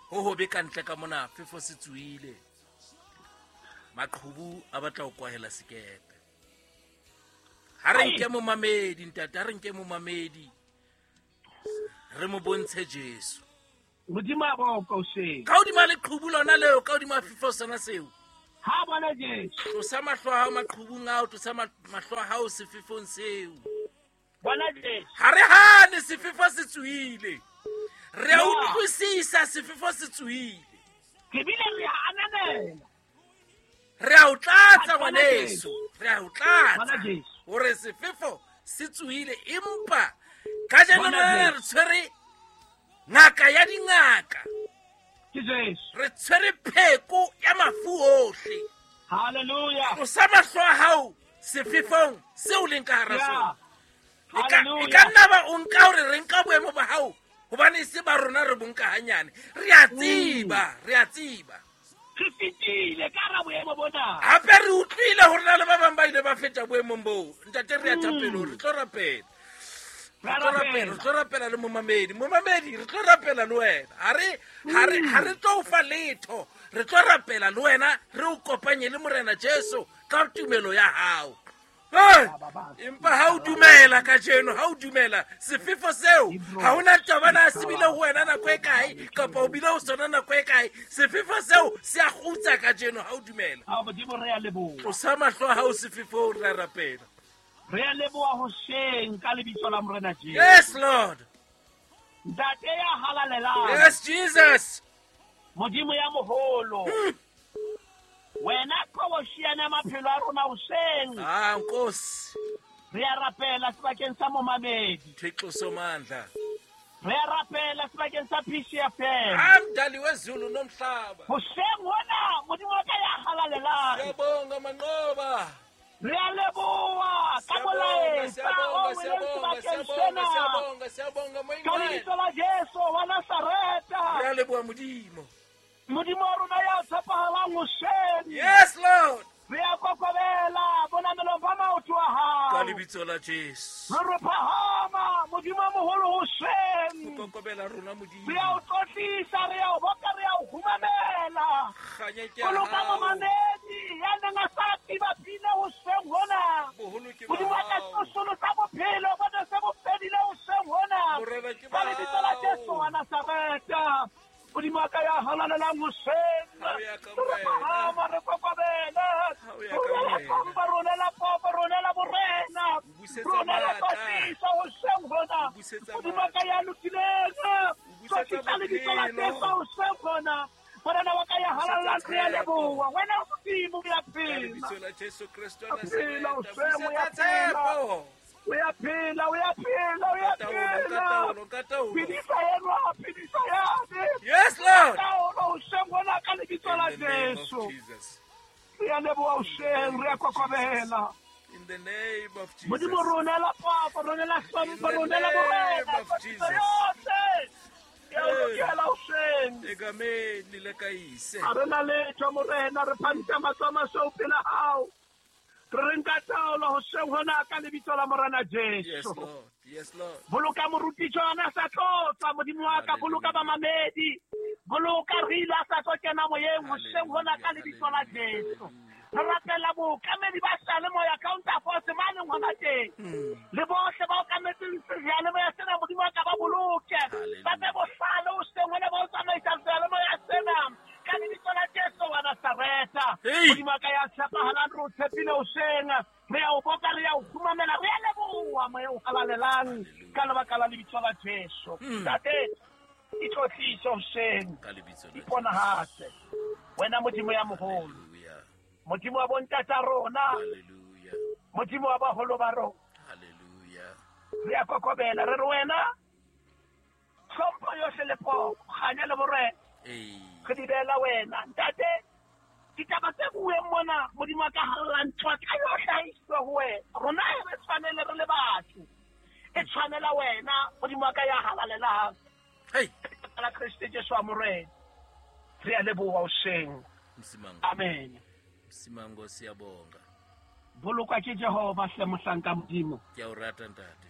ho hobe ka ntle ka mona, fefo se tsohile. Maqhubu a batla ho kwahela sekepe. Ha re nke momamedi, ntate, ha re nke momamedi. Re mo bontshe Jesu. Modimo a boka hoseng. Ka hodima leqhubu lona leo, ka hodima fefo sona seo. Ha bona Jesu. Tlosa mahlo a hao maqhubung ao, tlosa mahlo a hao sefefong seo. Bona Jesu. Ha re hane sefefo se tsohile. Re a utlwisisa sefefo se tsohile. Ke bile re a ananela. Re a o tlatsa Bona ngwaneso. Jesu. Re a o tlatsa. Bona Jesu. Hore sefefo se tsohile, empa kajeno Bona lena Jesu. re tshwere ngaka ya dingaka. Ke Jesu. Re tshwere pheko ya mafu ohle. Hallelujah. Tlosa mahlo a hao sefefong seo leng ka hara sona. E Hallelujah. ka nna ba o nka hore re nka boemo ba hao Hobane se ba rona re bonka hanyane. Re a tseba, re a tseba. Re fetile ka ra boemo bona. Hape re utlwile hore na le ba bang ba ile ba feta boemong boo. Ntate re a thapelo, re tlo rapela. Re tlo rapela le momamedi. Momamedi, re tlo rapela le wena. Ha re tlo fa letho. Re tlo rapela le wena, re o kopanye le Morena Jesu ka tumelo ya hao. Empa ha o dumela kajeno, ha o dumela sefefo seo, ha hona taba na se bile ho wena nako e kae kapa o bile ho sona nako e kae, sefefo seo se a kgutsa kajeno ha o dumela. Modimo re a leboha. Tlosa mahlo a hao sefefong, re a rapela. Re a leboha hoseng ka lebitso la Morena Jesu. Yes, Lord. Ntate ya halalelang. Yes, Jesus. Modimo ya moholo. Wena qhoboshiana maphelo a rona hoseng. Ah, Nkosi. Re a rapela sebakeng sa momamedi. Thixo somandla. Re a rapela sebakeng sa PCFM. Ah, mdali wezulu nomhlaba. Hoseng hona Modimo wa ka ya halalelang. Siyabonga manqoba. Re a leboha ka molaetsa o weleng sebakeng sena. Siyabonga, Ka lebitso la Jesu wa Nazareta. Re a leboha Modimo. Modimo wa rona ya tshepahalang hoseng. Yes, Lord. Re a kokobela bonamelong ba maoto a hao. Ka lebitso la Jesu. Re re phahama Modimo o moholo hoseng. Ho kokobela rona Modimo. Re a o tlotlisa, re a o boka, re a o humamela. Kganya ke ya Boloka hao. momamedi ya neng a sa tiba pina hoseng hona. Boholo ke ba Modimo wa ka hao. tsosolosa bophelo bo ne se bo fedile hoseng hona. Morena ke Ka ba lebitso la Jesu hao. wa Nazareta. Modimo wa ka ya halalelang hoseng. Ha o ya ka Re wena. phahama, re kokobele. Ha o ya ka Rona la wena. hlompho, rona la popo, rona la borena. O busetsa Rona la matla. tlotliso hoseng hona. O busetsa Modimo wa ka matla. ya lokileng. O busetsa Tlotlisa lebitso la bophelo. Jesu hoseng hona. Morena wa ka ya O busetsa halalelang, re a tshepo. leboha. Wena Modimo o ya Ka phela. lebitso la Jesu Kreste wa O phela, Nazareta. hoseng, o ya Busetsa phela. tshepo. O ya phela, o ya phela, o ya Ka taolo, ka phela. taolo, ka taolo. Phedisa enwa, phedisa yane. Yes, Lord. Taolo hoseng hona ka lebitso la In the name of Jesu. Jesus. Re a leboha hoseng, re a kokobela. In the name of Jesus. Modimo rona la popo, rona la hlompho, In the rona la name borena, of tlotliso Jesus. yohle. Ke a o lokela hoseng. Egameni le kaise. Ha re na letho Morena, re phahamisa matsoho a masweu pela hao. Re re nka taolo hoseng hona ka lebitso la Morena Yes, Jesu. Lord. Yes, Lord. Boloka moruti John a sa tlotsa Modimo wa ka, boloka bamamedi, boloka re ile a sa tlo kena moyeng hoseng hona ka lebitso la Jesu. Re rapela bookamedi ba seyalemoya Counter Force mane hona teng. Le bohle ba okametseng seyalemoya sena Modimo wa ka ba boloke. Ba be bohlale hoseng hona ba o tsamaisa seyalemoya sena. Ka lebitso la Jesu wa Nazareta. Hey. Modimo wa ka ya tshepahalang, re o tshepile hoseng. Re a o boka, re a o kgumamela, re a leboha moya o halalelang ka lebaka la lebitso la Jesu. Ntate, itlotlise hoseng, Ka lebitso la Jesu. iponahatse. Wena Modimo ya moholo, Hallelujah. Modimo wa bontata rona, Hallelujah. Modimo wa baholo ba rona. Hallelujah. Re a kokobela, re re wena hlompho yohle le poko, kganya le borena. Hey. Re di beela wena. Ntate, ditaba tse bueng mona, Modimo wa ka halalelang, tlotla yohle ha e iswe ho wena. Rona ha re tshwanele re le batho. E tshwanela wena, Modimo wa ka ya halalelang. Hey. Ka la Kreste Jesu wa Morena. Re a leboha hoseng. Msimango. Amen. Msimango siyabonga. Bolokwa ke Jehova hle mohlanka Modimo. Ke a o rata ntate.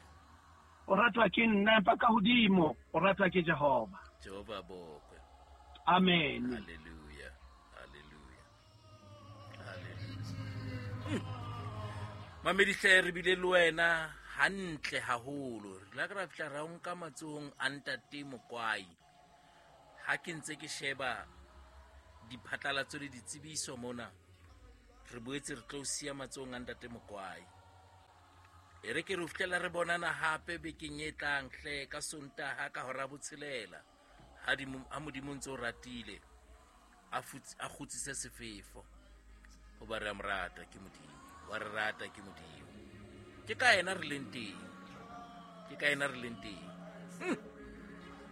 O ratwa ke nna empa ka hodimo, o ratwa ke Jehova. Jehova bokwe. Amen. Hallelujah. Hallelujah. Hallelujah. Mamedi hle re bile le wena hantle haholo. Re la ka ra fihla ra o nka matsohong a ntate Mokwai. Ha ke ntse ke sheba diphatlalatso le ditsebiso mona, re boetse re tlo siya matsohong a ntate Mokwai. E re ke re ho fihlela re bonana hape bekeng e tlang hle ka Sontaha ka hora 6. Ha Modimo ntse o ratile, a kgutsise sefefo. Hoba re a mo rata ke Modimo, wa re rata ke Modimo. Ke ka yena re leng teng. Ke ka yena re leng teng.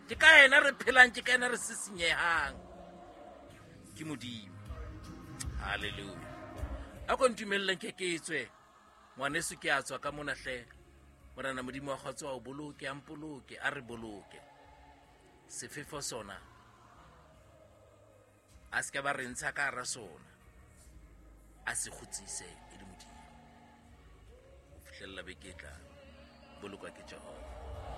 Ke ka yena re phelang, ke ka yena re sisinyehang. Ke Modimo. Hallelujah. A ko ntumelleng ke ke tswe. Ngwaneso ke a tswa ka mona hle. Morena Modimo wa kgotso a o boloke, a mpoloke, a re boloke. Sefefo sona a se ke ba re ntsha ka hara sona, a se kgutsise e le Modimo. Ho fihlella beke e tlang, bolokwa ke Jehova.